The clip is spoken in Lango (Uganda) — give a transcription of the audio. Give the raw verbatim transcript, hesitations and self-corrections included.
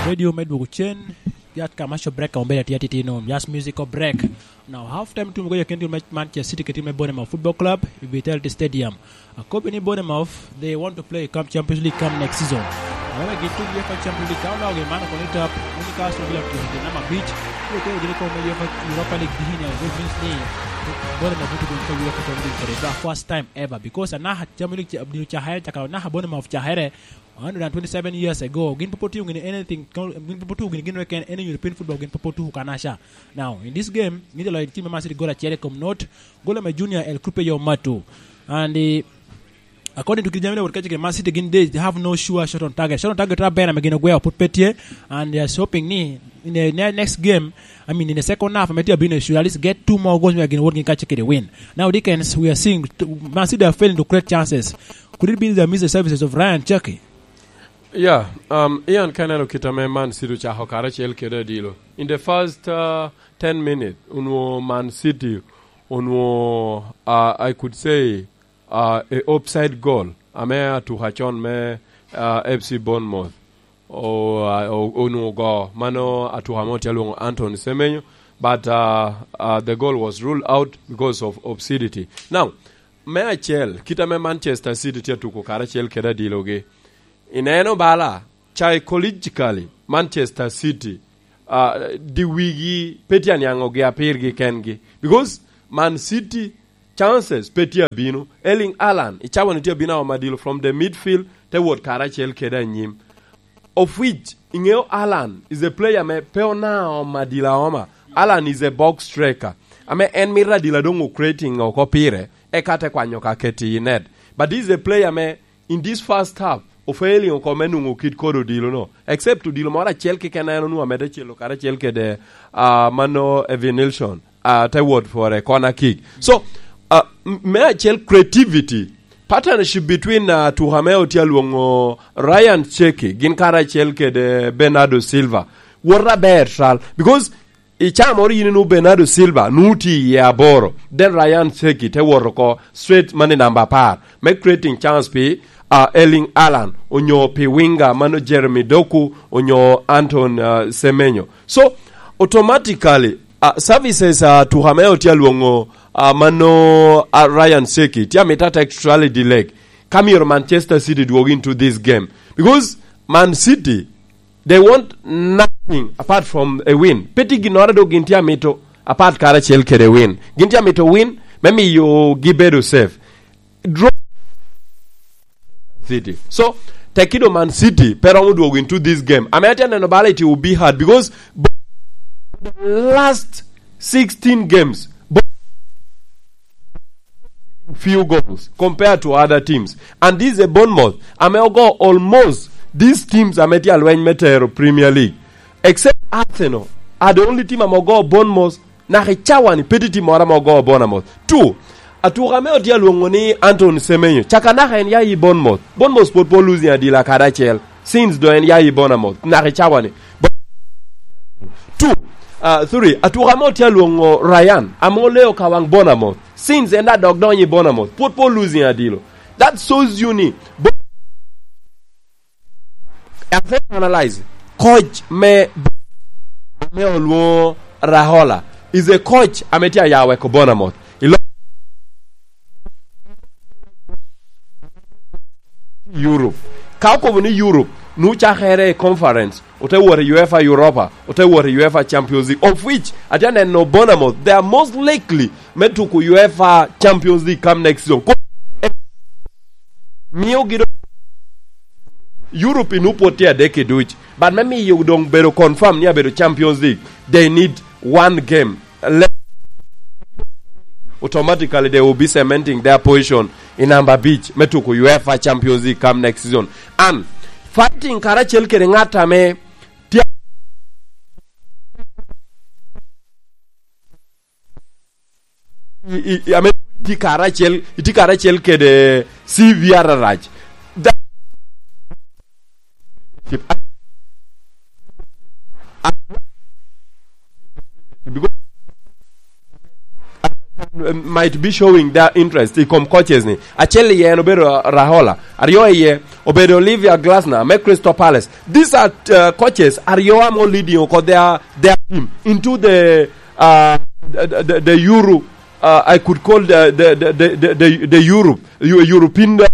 ready me dwogo cen. Just commercial break, ka obedo atye atitino. Just musical break. Now, half time tumo goyo ken team me Manchester City kede team me Bournemouth Football Club i Vitality Stadium. Akobo ni Bournemouth, they want to play come Champions League come next season. Awobe gin tuko UEFA Champions League, ka oloo gin man oko ni tap, Newcastle gila tuko gin namba abic, kwe kwe gin oko me UEFA Europa League dihin ya, which means ni Bournemouth buto gin ka UEFA Champions League for the first time ever, because anaka Champions League dino cakere, cakere anaka Bournemouth cakere, hundred and twenty-seven years ago. Gin pe otiyo gini anything, gin pe otuko gini gin weken, any European football gin pe otuko kanaca. Now, in this game, gin te loyo team me Man City gol acel i kom not, gol ame Junior El Cupe yo Matu. And, eh, according to Kijamile, what kaci Man City gin, they have no sure shot on target. Shot on target, Rabena, ame gin ogweo put pe tye, and they are hoping ni in the ne-, next game, I mean, in the second half, ame tye abino, should at least get two more goals, wek gin wot gin kaci kede win. Now, Dickens, we are seeing t-, Man City are failing to create chances. Could it be they miss the services of Ryan Cherki? Yeah, um, Ian, ka ineno kit ame Man City ocako karacel kede adilo. In the first, uh, ten minutes, onwo Man City, onwo, uh, I could say, uh, a offside goal, ame atuka con me, uh, F C Bournemouth. O, uh, o, onwo go, mano atuka mo tye alwongo Anton Semenyo, but, uh, uh, the goal was ruled out because of obscenity. Now, me acel, kit ame Manchester City tye atuko karacel kede adilogi, ineno bala, psychologically, Manchester City, uh, di wigi pe tye aniaŋogi apirgi kengi. Because Man City chances pe tye abino. Erling Haaland, i cawa-ni tye abino aoma dilo from the midfield, te wot karacel kede anyim. Of which, iŋeo Haaland is a player me pe ona aoma dilo aoma. Haaland is a box striker. Ame en mito adilo doŋ o creating oko pire, eka te kwanyo ka keti i net. But this is a player me in this first half, ofailing oko me nwoŋo kit kodi odilo no, except odilo moro acel keken en onwoŋo amedde celo karacel kede, ah, mano Evanilson, ah, te wot for a corner kick. So, ah, m-, me acel creativity, partnership between, ah, atuka ame otye alwoŋo Ryan Cherki, gin karacel kede Bernardo Silva, wot aber cal, because i caa moro yin inwoŋo Bernardo Silva nwoŋo tye iye aboro, then Ryan Cherki te wot oko straight man i namba apar, me creating chance pi, ah, Erling Haaland, onyo pi winger mano Jeremy Doku, onyo Anton, ah, Semenyo. So, automatically, ah, services, ah, atuka ame otye alwoŋo, ah, mano, ah, Ryan Cherki, tye amito ata extra leg, ka myero Manchester City dwog into this game. Because Man City, they want nothing apart from a win. Pe tye ginnoro dok gin tye amito apart karacel kede win. Gin tye amito win me miyo gibedo safe. Draw City. So, tek kido Man City pe romo dwogo into this game. Ame atye neno bala, it will be hard because the last sixteen games, few goals compared to other teams. And this is a Bournemouth ame ogo almost these teams ame tye alweny me tero Premier League. Except Arsenal are the only team ame ogo Bournemouth naka i cawa-ni, pe tye team moro ame ogo Bournemouth. Two, atuka ame otye alwoŋo ni Anton Semenyo, caka naka en ya i Bournemouth. Bournemouth pwod pe losing adila kadi acel. Since doŋ en ya i Bournemouth, naka i cawa-ni. Two, ah, three, atuka ame otye alwoŋo Ryan, ame oleo ka waŋ Bournemouth. Since en adok donyo i Bournemouth, pwod pe losing adilo. That shows you ni Bo-, as I analyze, coach me, me olwoŋo Rahola is a coach ame tye aya weko Bournemouth. Ilo- Europe. Ka okobo ni Europe, nu cakere i conference, ote wot i UEFA Europa, ote wot i UEFA Champions League, of which, atye aneno Bournemouth, they are most likely me tuko UEFA Champions League come next season. Ko-, miyo gido Europe inu pwod tye adek i duc, but me miyo doŋ bedo confirm ni abedo Champions League, they need one game. Le-, automatically they will be cementing their position in number abic me tuko UEFA Champions League come next season. And fighting karacel kede ŋat ame tye, i, i, i, ame tye karacel, itye karacel kede C V arac. That, because might be showing their interest i kom coaches ni. Acel iye en obedo, uh, Raiola. Aryo iye obedo Olivier Glasner me Crystal Palace. These are, uh, coaches aryo amo leading oko their, their team into the, uh, the, the, the Euro, uh, I could call the, the, the, the, the, the Europe, Eu-, European, uh,